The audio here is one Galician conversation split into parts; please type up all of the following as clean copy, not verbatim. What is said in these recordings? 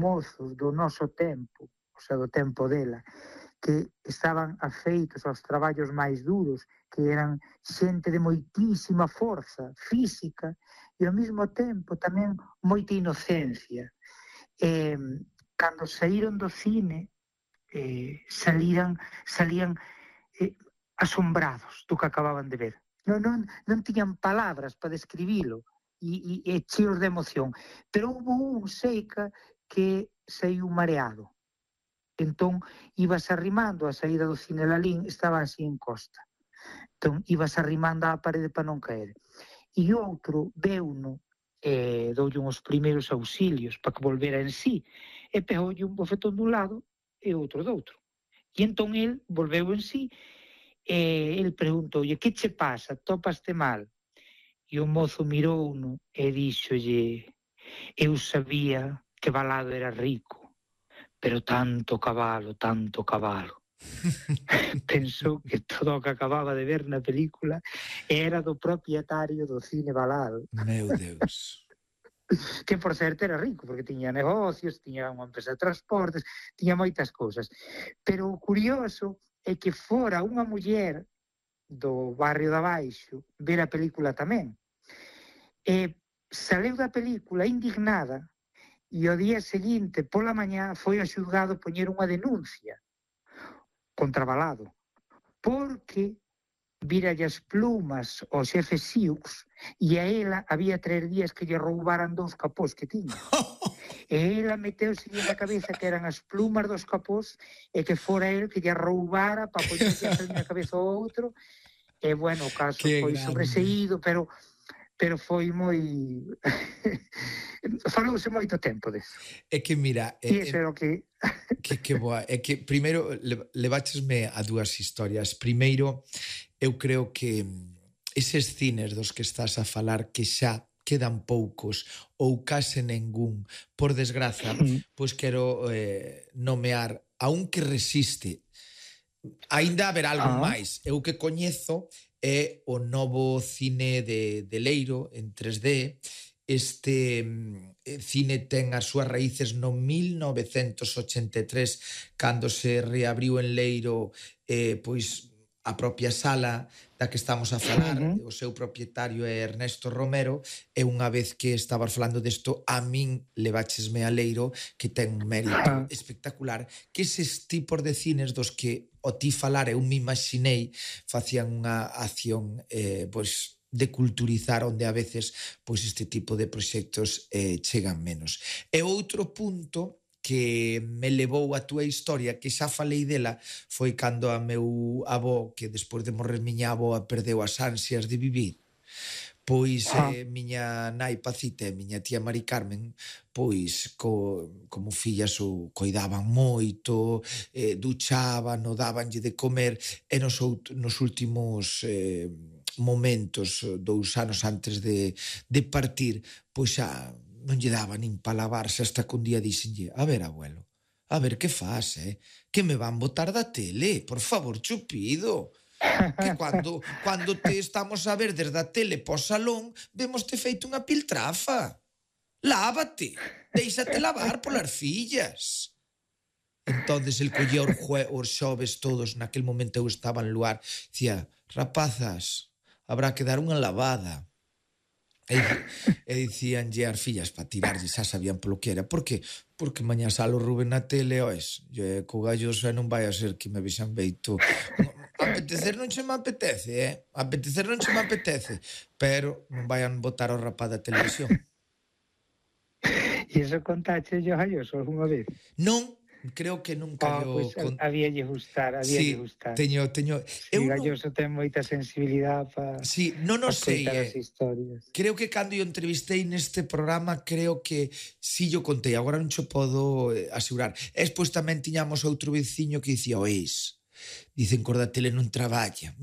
mozos do noso tempo, o sea, do tempo dela, que estaban afeitos aos traballos máis duros, que eran xente de moitísima forza física e ao mesmo tempo tamén moita inocencia. Cando saíron do cine, salían asombrados do que acababan de ver. Non tiñan palabras para describilo e cheos de emoción. Pero houve un Seica que saiu mareado. Entón, ibas arrimando a saída do cine Lalín, estaba así en costa. Entón, ibas arrimando á parede para non caer. E outro veuno, doulle uns primeiros auxilios para que volvera en sí, e pegoulle un bofetón dun lado e outro do outro. E entón el volveu en sí, e el preguntoulle, que che pasa, topaste mal? E o mozo mirouno e díxolle, eu sabía que Balado era rico, pero tanto cabalo. Pensou que todo o que acababa de ver na película era do propietario do cine Balado. Meu Deus. Que, por certo, era rico, porque tiña negocios, tiña unha empresa de transportes, tiña moitas cousas. Pero o curioso é que fora unha muller do barrio de abaixo ver a película tamén. E saleu da película indignada e o día seguinte, pola mañá, foi ao xulgado poñer unha denuncia contra Balado, porque víralle as plumas ao xefe Siux e a ela había 3 días que lle roubaran 2 capós que tiña. E ela meteuse na cabeza que eran as plumas dos capós e que fora el que lle roubara para poñerlle na cabeza ao outro. E, bueno, o caso foi sobreseído, pero foi moi... Falouse moito tempo deso. É que, mira... E iso é o que... Que boa. É que, primeiro, leváchesme a 2 historias. Primeiro, eu creo que eses cines dos que estás a falar que xa quedan poucos ou case ningún, por desgraza, pois quero nomear a un que resiste. Aínda haberá algo máis. Eu que coñezo é o novo cine de Leiro en 3D. Este cine ten as súas raíces no 1983, cando se reabriu en Leiro pois a propia sala da que estamos a falar. O seu propietario é Ernesto Romero, e unha vez que estabas falando desto, a min leváchesme a Leiro, que ten un mérito espectacular, que eses tipos de cines dos que o ti falar eu me imaginei facían unha acción pois de culturizar, onde a veces pois este tipo de proxectos chegan menos. E outro punto que me levou a túa historia, que xa falei dela, foi cando a meu avó, que despois de morrer miña avoa perdeu as ansias de vivir, pois miña nai Pacita e miña tía Mari Carmen, pois como fillas o coidaban moito, duchaban, o dabanlle de comer, e nos últimos momentos, 2 anos antes de partir, pois xa non lle daba nin pa lavarse, hasta que un día dixenlle, a ver, abuelo, a ver, que faz, que me van botar da tele, por favor, chupido, que cando te estamos a ver desde a tele po salón, vemos te feito unha piltrafa. Lávate, deixate lavar polas fillas. Entonces el collía os xoves todos, naquel momento eu estaba en Luar, dicía, rapazas, habrá que dar unha lavada. E dicíanlle as fillas para tirarlle, xa sabían polo que era. Por que? Porque mañá salo Rubén na tele, ois, co galloso non vai a ser que me vexan beito. Apetecer non se me apetece, apetecer non se me apetece, pero non vayan botar o rapaz da televisión. E iso contache yo galloso algunha vez? Non, creo que nunca pues habíalle gustar, gustar. Teño. Sí, galloso ten moita sensibilidade para contar as historias. Creo que cando eu entrevistei neste programa, creo que si yo contei, agora non xo podo asegurar. E despois tamén tiñamos outro veciño que dicía, oís, dicen que os da tele non traballa.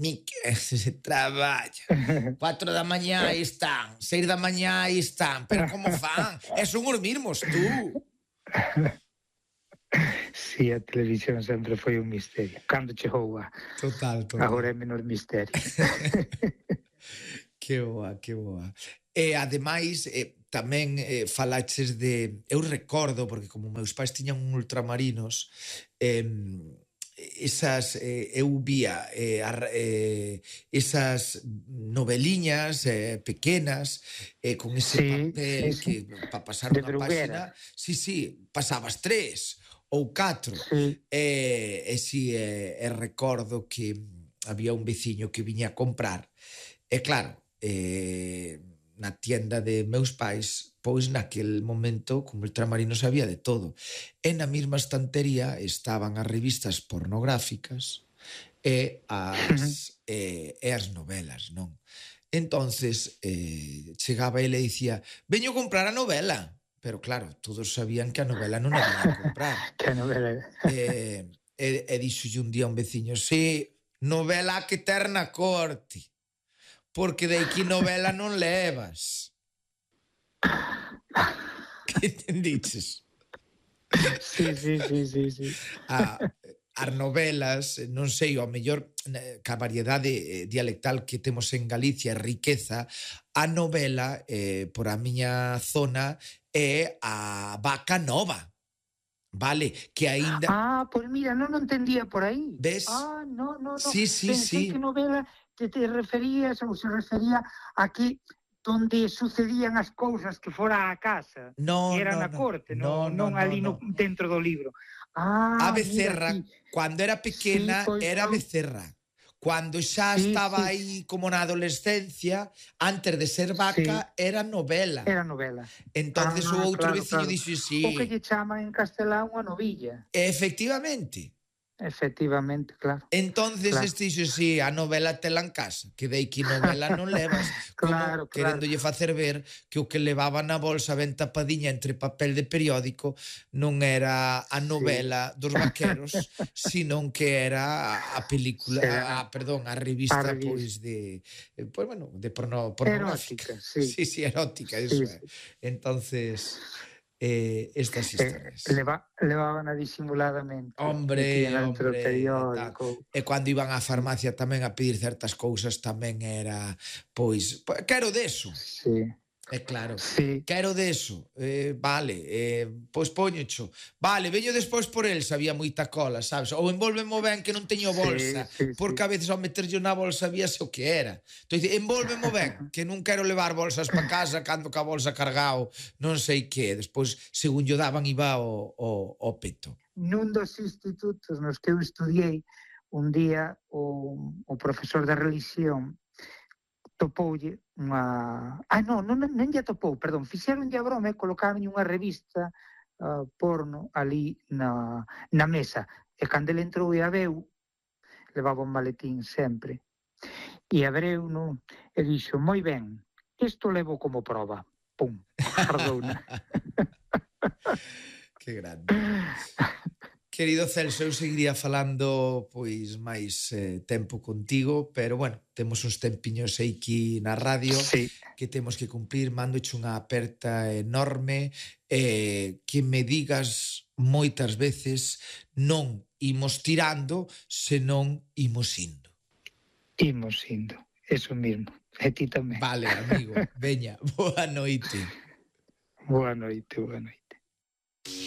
Se traballa. 4 da mañá aí están, 6 da mañá aí están, pero como fan? E son os mismos, tú. Sí, a televisión sempre foi un misterio. Cando chegou a... Total. Agora é menor misterio. Que boa. E, ademais, tamén falaches de... Eu recordo, porque como meus pais tiñan ultramarinos, eu vía esas noveliñas pequenas con ese papel que para pasar de unha páxina, Bruguera. sí, pasabas 3 ou 4 Sí. recordo que había un veciño que viña a comprar e claro, na tienda de meus pais, pois naquel momento, como ultramarinos había de todo. E na mesma estantería estaban as revistas pornográficas e as novelas, non? Entonces, chegaba ele e dicía, veño comprar a novela. Pero claro, todos sabían que a novela non a viña a comprar. Que novela. E dixolle un día un veciño, sí, novela que ter na corte, porque de aquí novela non levas. Que entendiches? Sí. As novelas, non sei, ao mellor ca variedade dialectal que temos en Galicia, riqueza, a novela, por a miña zona, é a vaca nova. Vale, que aínda... Pois mira, non entendía por aí. Ves? No. Sí. Pensei que novela te referías ou se refería a que donde sucedían as cousas que fora a casa, que era na corte, non ali dentro do libro. A becerra, cando era pequena, era a becerra. Cando xa estaba aí como na adolescencia, antes de ser vaca, era novela. Era novela. Entonces o outro veciño dixo, sí. O que lle chaman en castelán unha novilla. Efectivamente. Efectivamente, claro. Entonces este dixo, sí, a novela tela en casa, que dei que novela non levas, como querendolle facer ver que o que levaba na bolsa ben tapadiña entre papel de periódico non era a novela dos vaqueros, sino que era a película, a revista pois de, pois bueno, de pornográfica. Sí, erótica, eso é. Entonces... estas historias. Levaban disimuladamente. Hombre. E cando iban á farmacia tamén a pedir certas cousas tamén era, pois, quero deso. Sí. Claro, quero deso, vale, pois poñocho, vale, veño despois por el, sabía moita cola, sabes, ou envólvemo ben que non teño bolsa, porque a veces ao meterlle na bolsa víase o que era. Entón, envólvemo ben, que non quero levar bolsas pa casa cando ca bolsa cargao, non sei que, despois, según yo daban, iba ao peto. Nun dos institutos nos que eu estudiei, un día o profesor de religión topoulle unha... non lle topou, perdón, fixeronlle a broma e colocaron unha revista porno ali na mesa. E cando ele entrou e a veu, levaba un maletín sempre. E a breu, e dixo, moi ben, isto levo como prova. Pum, guardouna. Que grande. Querido Celso, eu seguiría falando pois máis tempo contigo, pero bueno, temos uns tempiños aquí na radio que temos que cumplir. Mandoche unha aperta enorme, que me digas moitas veces non imos tirando, senón imos indo. Imos indo, eso mismo, e ti tamén. Vale, amigo, veña, boa noite. Boa noite.